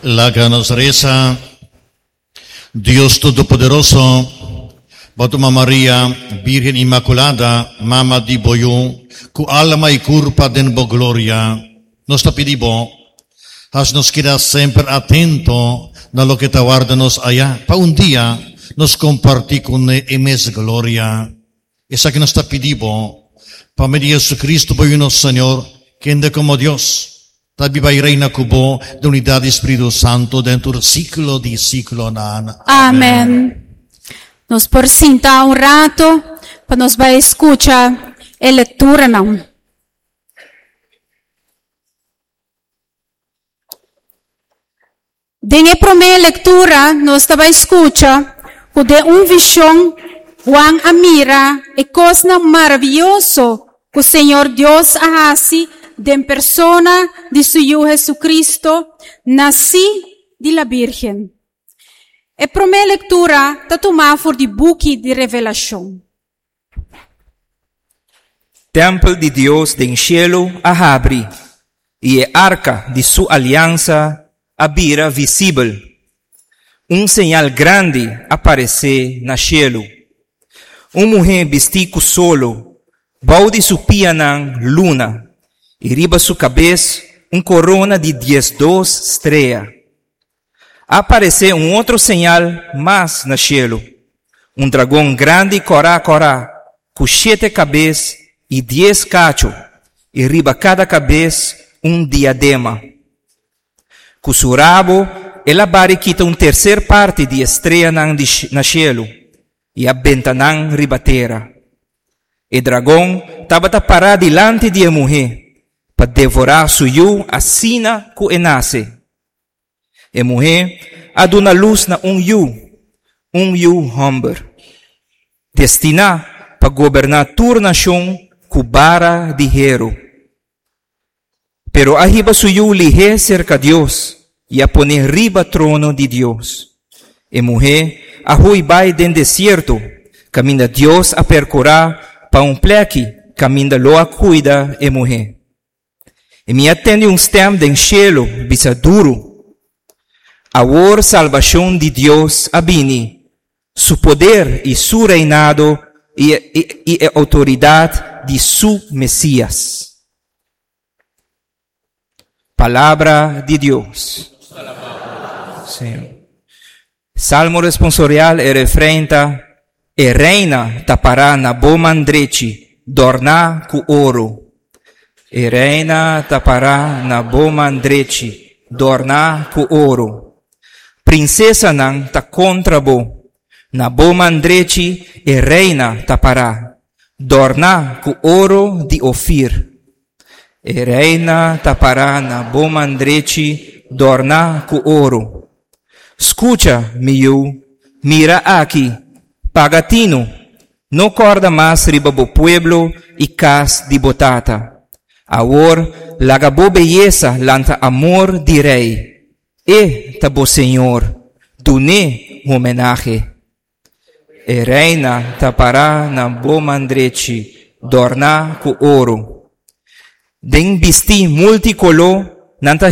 Laga nos resa. Dios Todopoderoso, Bo a tuma Maria, Birgen Inmaculada, Mama di Bo Yu, cu alma y curpa den Bo gloria. Nos ta pidi Bo, haci nos keda semper atento na loke ta warda nos aya, pa un dia nos comparti cu ne e mes gloria. Esaki nos ta pidi Bo, pa medio di Jesucristo, Bo Yu nos Señor, kende como Dios, Ta biba i reina ku bo den unidat di Spiritu Santu den tur siklo di siklonan. Amen. Nos por sinta un rato pa nos bai skucha e lekturanan. Den e promé lektura nos ta bai skucha ku den un vishon Juan a mira e kosnan maravioso ku Señor Dios a hasi den persona di su Yu Hesukristo, nasí di la Bírgen. E promé lektura ta tumá for di buki di Revelashon. Tèmpel di Dios den shelu a habri, i e arka di su aliansa a bira visibel. Un señal grandi a paresé na shelu, Un muhé bistí ku solo, bou di su pianan luna, i riba su kabes un korona di diesdos strea. A aparesé un otro señal mas na shelu, un dragon grandi kòrá kòrá, ku shete kabes i dies kachu, i riba kada kabes un diadema. Ku su rabo el a bari kita un terser parti di e streanan di na shelu i a benta nan riba tera. E dragon tabata pará dilanti di e muhé pa devorá su yu asina ku e nase. E muhé a duna lus na un yu, un yu hòmber, destiná pa goberná tur nashon ku bara di heru. Pero a hiba su yu lihé serka Dios i a pon'é riba trono di Dios. E muhé a hui bai den desierto, kaminda Dios a perkurá pa un plèki kaminda lo a kuida e muhé. I mi a tende un stèm den shelu bisa duru, Awor salbashon di Dios a bini, su poder i su reinado i e outoridat di su Mesías. Palabra di Dios. Señor. Salmo responsorial e refrein ta, E reina ta pará na bo man drechi, dòrná ku oro. E reina ta pará na bo man drechi, dòrná ku oro. Prinsesanan ta kontra bo, na bo man drechi e reina ta pará, dòrná ku oro di Ofir. E reina ta pará na bo man drechi, dòrná ku oro. Skucha, mi yu, mira aki, paga tinu, no kòrda mas riba bo pueblo i kas di bo tata. Awor, laga bo beyesa lanta amor di rei. E ta bo señor, dun'é homenahe. E reina ta pará na bo man drechi, dòrná ku oro. Den bistí multikoló nan ta.